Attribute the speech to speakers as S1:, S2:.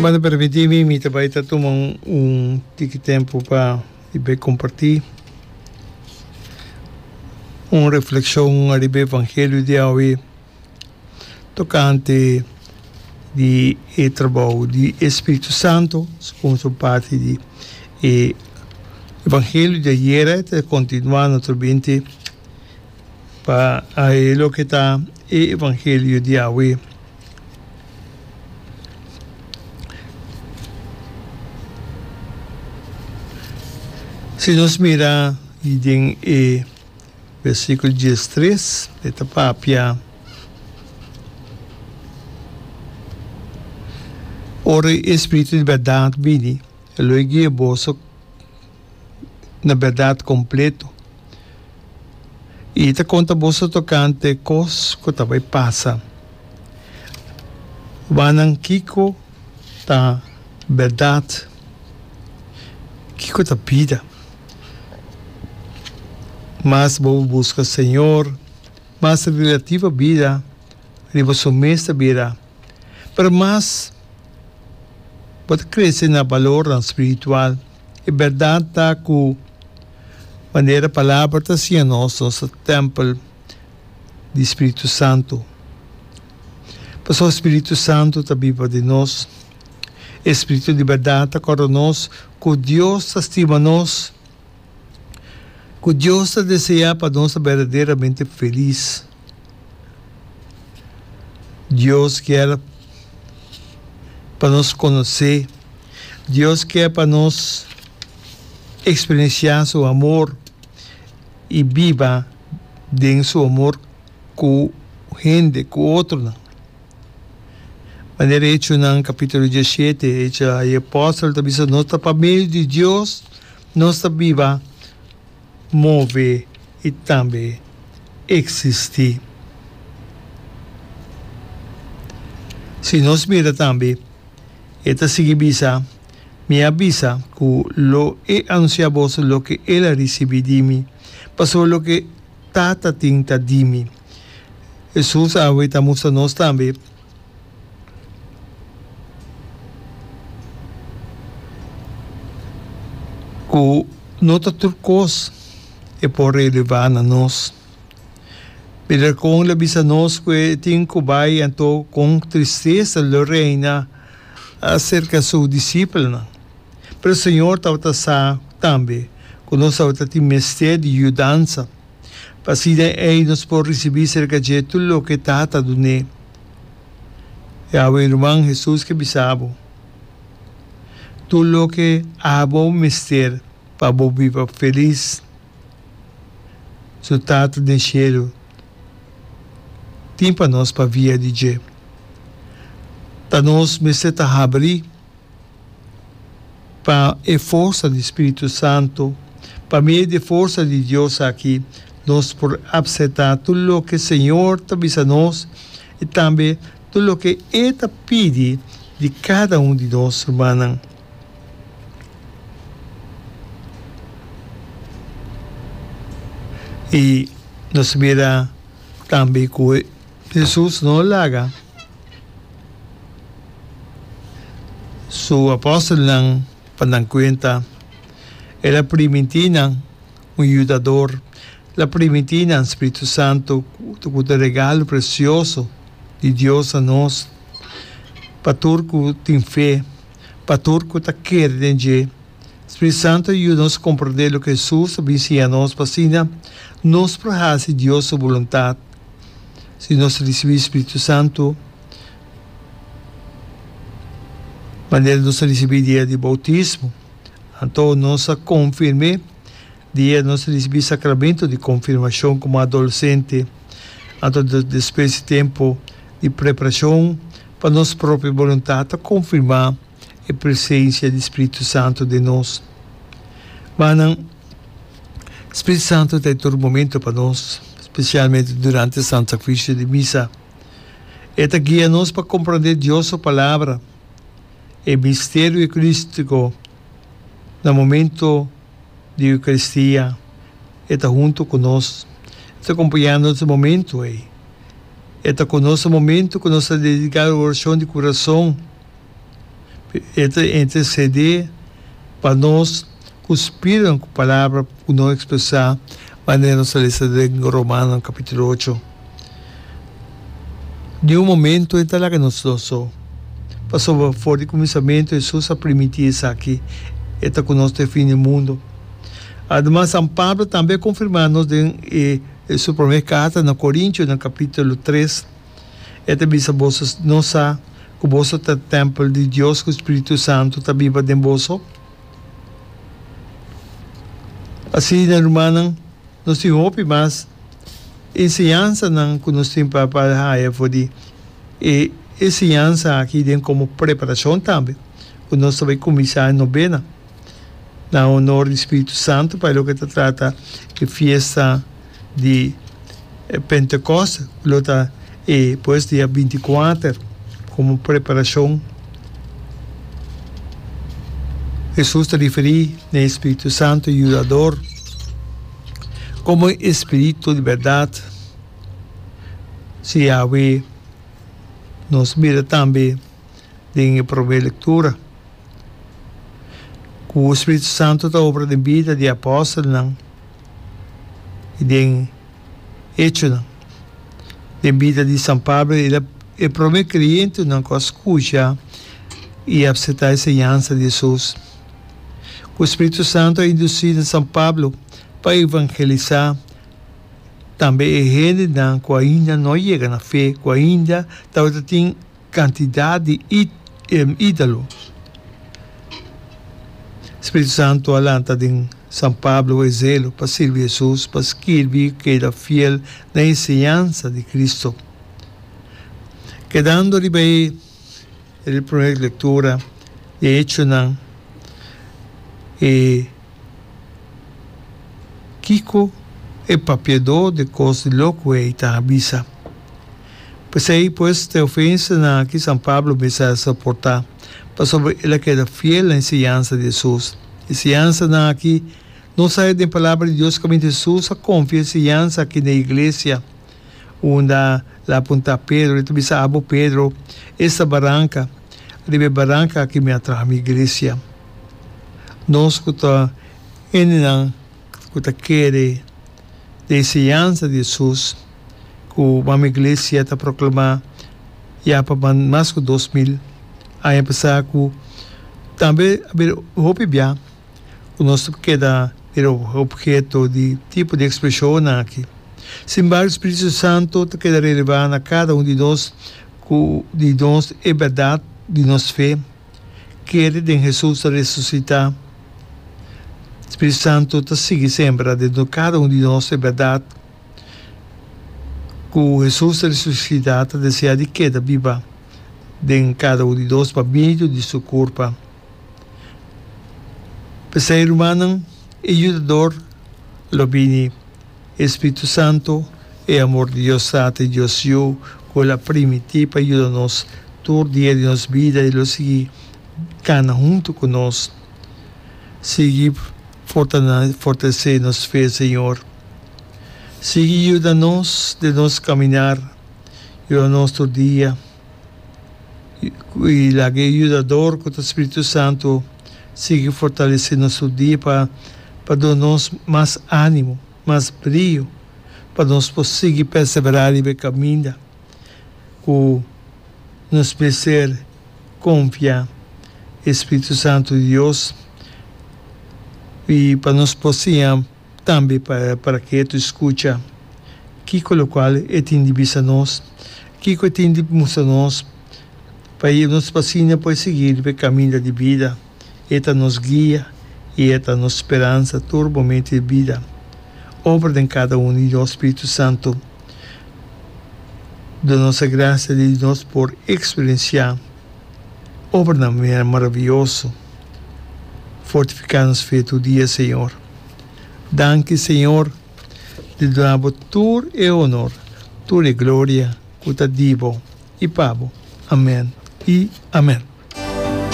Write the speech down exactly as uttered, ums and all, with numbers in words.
S1: Manda permití mi, mi ta bai ta tuma un, un tiki tempu pa i kompartí un reflekshon riba evangelio di awe tokante di e trabou di Spiritu Santu, komo su parti di e evangelio di ayera, ta kontinuá naturalmente pa loke ta e evangelio di awe. Si nos mira den e versíkulo diestres, e ta papia: "Ora e Spiritu di bèrdat bini, e lo guia boso na bèrdat kompleto. I ta konta boso tokante kos ku ta bai pasa." Rumannan, kiko ta bèrdat? Kiko ta bida? Mas bo buska Señor, mas relativo bida riba su mes ta bira. Pero mas bo ta krese na balor spiritual. E bèrdat ta ku manera palabra ta siña nos, nos tèmpel di Spiritu Santu. Pasobra Spiritu Santu ta biba den nos. Spiritu di bèrdat ta kòrda nos ku Dios ta stima nos, ku Dios ta deseá pa nos berdaderamente felis. Dios ke pa nos konosé. Dios ke pa nos eksperensiá su amor i biba den su amor ku hende, ku otro. Manera Echonan kapítulo diesshete, Hecho e apòstel ta bisa: nos ta pa medio di Dios, nos ta biba, move i tambe eksistí. Si nos mira tambe, e ta sigui bisa: "Mi a bisa ku lo e anunsiá boso loke el a risibí di mi, pasobra loke Tata tin ta di mi." Hesus awe ta mustra nos tambe ku no ta tur kos e por revelá na nos. Pero kon el a bisa nos ku e tin ku bai, anto ku tristesa lo reina aserka su disipelnan. Pero Señor tabata sa tambe ku nos tabatin mester di yudansa, pa asina ei nos por risibí serka dje tur loke Tata dun'é. I awe, ruman, Hesus ke bisa bo: tur loke abo mester pa bo biba felis, su Tata den shelu tin pa nos pa via di dje. Ta nos mester ta habri pa e forsa di Spiritu Santu, pa medio di forsa di Dios aki, nos por aseptá tur loke Señor ta bisa nos i tambe tur loke E ta pidi di kada un di nos, rumannan. I nos mira tambe ku Hesus no a laga su apòstelnan pa nan kuenta. El a primintí nan un yudadó, el a primintí nan Spiritu Santu, ku ta regalo presioso di Dios na nos, pa tur ku tin fe, pa tur ku ta kere den dje. Spiritu Santu yuda nos komprondé loke Hesus a siña nos, pa asina nos por hasi Dios su boluntat. Si nos risibí Spiritu Santu, manera nos risibí dia di boutismo, anto nos a konfirm'é dia nos risibí sakramento di konfirmashon komo adolesente, anto despues di tempu di preparashon pa nos propio boluntat a konfirmá e presensia di Spiritu Santu den nos. Mas Spiritu Santu ta tur momento pa nos, spesialmente durante Santu Sakrifisio di Misa. E ta guia nos pa komprondé Dios su palabra, e misterio eukarístiko na momento di Eukaristia. E ta huntu ku nos, e ta kompañando nos momento ei. E ta ku nos momento ku nos ta dediká orashon di kurason. E ta intercedé pa nos ku spiritu, ku palabra ku no ekspresá, manera nos a lesa den Romanonan kapítulo ocho. Niun momento e ta laga nos dos so, pasobra for di kuminsamentu Hesus a primintí esaki, E ta ku nos te fin di mundu. Ademas, San Pablo tambe a konfirmá nos den e su promé karta na Korintionan kapítulo tres, e ta bisa, Boso no sa ku boso ta tèmpel di Dios ku Spiritu Santu ta biba den boso? Asina, rumannan, nos tin hopi mas enseñansanan ku nos tin pa pa haya for di e enseñansa aki den komo preparashon tambe ku nos ta bai kuminsá e nobena na honor di Spiritu Santu pa e loke ta trata e fiesta di Pentekoste ku lo ta e pues dia binti kuater komo preparashon. Hesus ta referí na e Spiritu Santu Yudador komo e Spiritu di bèrdat. Si awe nos mira tambe den e promé lektura ku Spiritu Santu ta obra den bida di e apòstelnan i den Echonan. Den bida di San Pablo el a e promé kreyentenan ku a skucha i apseptá e señansa di Hesus. Ku Spiritu Santu a indusí na San Pablo pa evangelisá tambe e hendenan ku ainda no a yega na fe, ku ainda tabata tin kantidat di ídolo. Spiritu Santu a lanta den San Pablo e zelo pa sirbi Hesus, pa skirbi i keda fiel na e enseñansa di Cristo. Kedando riba e promé lektura di Echonan, e kiko e papiadó di kos di loko ei ta bisa? P'esei pues te ofensanan aki San Pablo mester a soportá, pasobra el a keda fiel na enseñansa di Hesus. E siñansanan aki no sa den Palabra di Dios kaminda Hesus a konfia e siñansa aki na e iglesia. Unda el a apuntá Pedro, el ta bisa, Abo Pedro, esta baranka, riba e baranka aki mi a traha mi iglesia. Nos ku ta hendenan ku ta kere den e siñansa di Hesus ku Mama Iglesia ta proklamá ya pa mas ku dos mil aña pasá ku tambe a bira hopi bia ku nos ta keda bira obheto di tipo di ekspreshonnan aki. Sin embargo, Spiritu Santu ta keda relevá na kada un di nos ku di nos e bèrdat di nos fe. Kere den Hesus ta resusitá. Spiritu Santu ta sigui sembra dentro kada un di nos e bèrdat ku Hesus ta resusitá ta deseá di keda biba den kada un di nos pa medio di su kurpa. P'esei, rumannan, e Yudador lo bini, e Spiritu Santu, e amor di Dios Tata i Dios Yu, ku el a primintí pa yuda nos tur dia di nos bida i lo sigui kana huntu ku nos. Sigui fortalesé nos fe, Señor. Sigui yuda nos den nos kaminar, yuda nos tur dia. I laga e Yudador ku ta Spiritu Santu sigui fortalesé nos tur dia pa pa duna nos mas ánimo, mas brio pa nos por sigui perseverá riba e kaminda ku nos mester konfia e Spiritu Santu di Dios i pa nos por siña Tambe pa para ketu i skucha kiko lokual e tin di bisa nos, kiko e tin di mustra nos, pa i nos pa asina por sigui riba e kaminda di bida. E ta nos guia i e ta nos speransa tur momento di bida. Obra den kada un di nos, Spiritu Santu. Duna nos e grasia di nos por eksperensiá obranan maravioso. Fortifiká nos fe tur dia, Señor. Danki Señor di duna bo tur e honor, tur e gloria cu ta di bo y pa bo. Amen y amen.